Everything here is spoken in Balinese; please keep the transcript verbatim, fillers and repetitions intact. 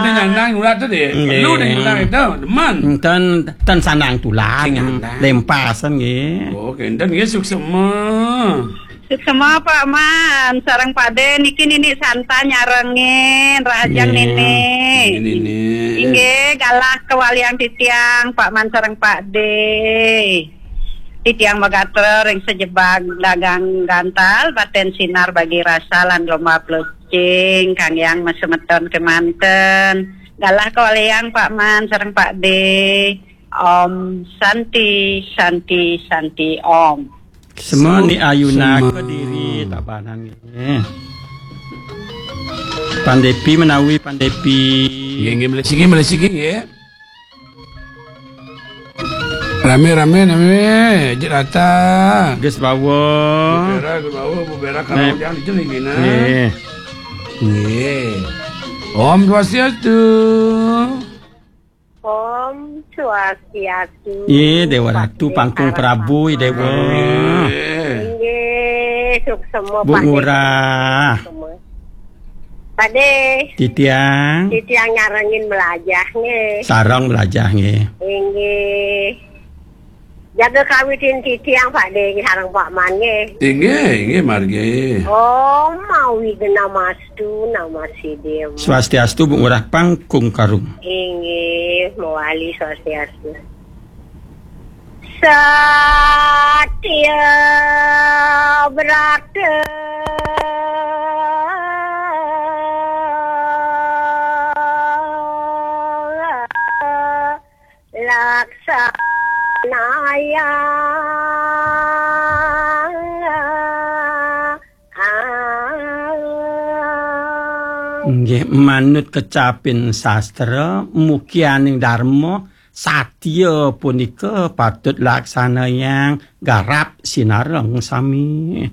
Nyandang ulah tu deh. Nggih. Perlu deh nyandang itu, demen. Ten, ten sandang tulang. Sing nyandang. Lempasan nggih. Oh, kenten nggih, suksema. Suksema, Pak Man, sareng Pak De, niki Nini Santa nyarengin, rahajeng Nggih. Nini. Nini, Nini. Inggih, galah kawaliang titiang, Pak Man sareng Pak De. Titiang magatra ring sajebag dagang gantal, baten sinar bagi rasa lan lomba plecing, kang yang masemeton kemanten. Galah kawaliang Pak Man sareng Pak De. Om Santi, Santi, Santi Om. Semeni ayuna Sema. Kediri tabanan nggih. Pandepi menawi Pandepi. Nggih, nggih, melih siki, melih siki, nggih. Rame, rame, rame, jek rata. Gus bawa. Bu Bera, Gus bawa, Bu Bera, kalau Nek. Yang dijeling, Nina. Nggih. Nggih. Om Swastiastu. Om Swastiastu. Nggih, Dewa Ratu, Pak Pangkung Desa Prabu, Rama. Dewa. Nggih. Nggih, suksema, Bu Pak De. Ngurah. Suksema. Pak De. Titiang. Titiang nyarengin melajah, nggih. Sareng melajah, nggih. Inggih. Jaga kawitin titiang, Pak De, sareng Pak Man, nggih. Inggih, inggih, margi. Om Awighnamastu Namasidham. Swastiastu, Bu Ngurah Pangkung Karung. Inggih, mawali swastiastu. Satya Brata Laksanayang. Nggih, manut kecapin sastra, mukianing dharma, satya punika patut laksanayang garap sinareng sami.